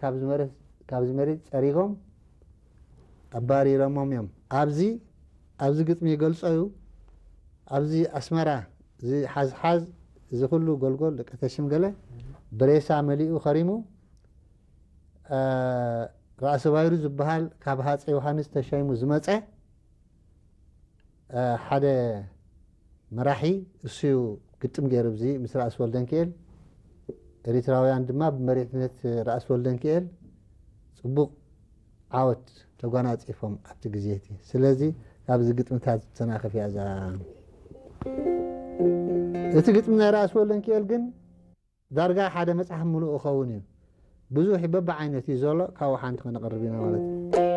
ካብዚ መሬት ጸሪጎም ኣባሪሮሞም እዮም። ኣብዚ ኣብዚ ግጥሚ ይገልጾ እዩ። ኣብዚ ኣስመራ እዚ ሓዝሓዝ፣ እዚ ኩሉ ጎልጎል፣ ደቂ ተሽም ገለ ብሬሳ መሊኡ ከሪሙ። ራእሲ ባይሩ ዝበሃል ካብ ሃፀይ ዮሃንስ ተሻይሙ ዝመፀ ሓደ መራሒ እሱዩ ግጥም ገይሩ። እዚ ምስ ራእሲ ወልደንክኤል፣ ኤሪትራውያን ድማ ብመሪሕነት ራእሲ ወልደንክኤል ፅቡቕ ዓወት ተጓናፂፎም ኣብቲ ግዜ እቲ። ስለዚ ካብዚ ግጥምታት ዝተናኸፍ እያ እዛ። እቲ ግጥሚ ናይ ራእሲ ወልደንክኤል ግን ዳርጋ ሓደ መፅሓፍ ምሉእ ይኸውን እዩ። ብዙሕ በብዓይነት እዩ ዘሎ፣ ካብኡ ሓንቲ ከነቕርብ ኢና ማለት እዩ።